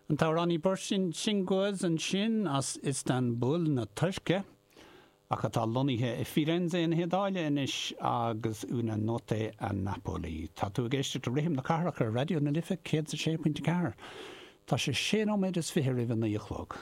An t-amhránaí Burçin Cingöz ansin as Iostanbúl na Tuirce, ach atá lonnaithe i Firenze na hIodáile anois agus Una Notte a Napoli. Tá tú ag éisteacht le Rithim na Cathrach ar Raidió na Life 106.4. Tá sé sé nóiméad is fiche roimh a naoi a chlog.